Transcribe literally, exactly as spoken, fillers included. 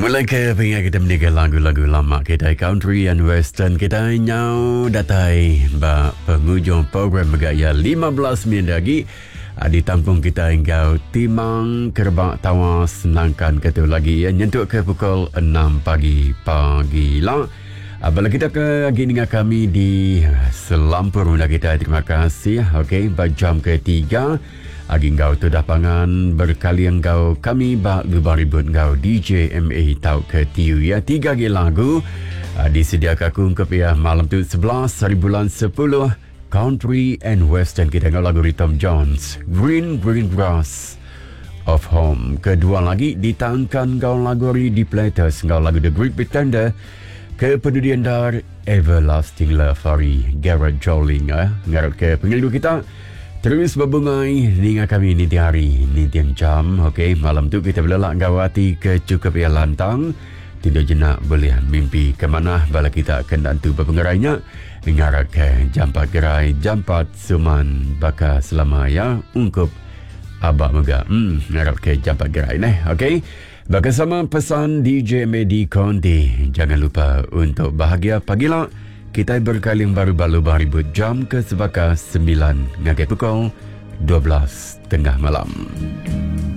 Mulai ke pengingat kita meninggal lagu-lagu lama kita country and western kita nyau datai ba penghujung program megaya lima belas minit lagi ditampung kita enggau timang kerebak tawas nangkan ketu lagi ya nyentuk ke pukul enam pagi pagi lah. Bala kita ke lagi dengar kami di selampur undang kita, terima kasih. Okey, ba jam ketiga agi enggau tu dah pangan berkali enggau kami ba lubang ribut enggau D J M A tau ke T U ya. Tiga lagi lagu uh, disediakan aku ke pihak malam tu sebelas hari bulan sepuluh country and western kita enggau lagu Tom Jones Green Green Grass of Home. Kedua lagi ditangkan enggau lagu di Platters enggau lagu The Great Pretender. Kepedulian dar Everlasting Love hari Garrett Joling eh. Ngarap ke pengelidu kita terus berbungai ninga kami ni tiap hari ni tiap jam. Okey, malam tu kita berlelak enggau hati ke cukup ia lantang. Tidur jenak boleh mimpi ke mana bala kita kena tu berpengerainya. Ngarap ke jampat gerai, jampat suman baka selama ya ungkup abak mega. Hmm, ngarap ke jampat gerai neh. Okey. Bersama pesan D J Medi Conti, jangan lupa untuk bahagia pagi lah. Kita berkaling baru-baru ribut jam ke sebaka sembilan ngagai pukul dua belas tengah malam.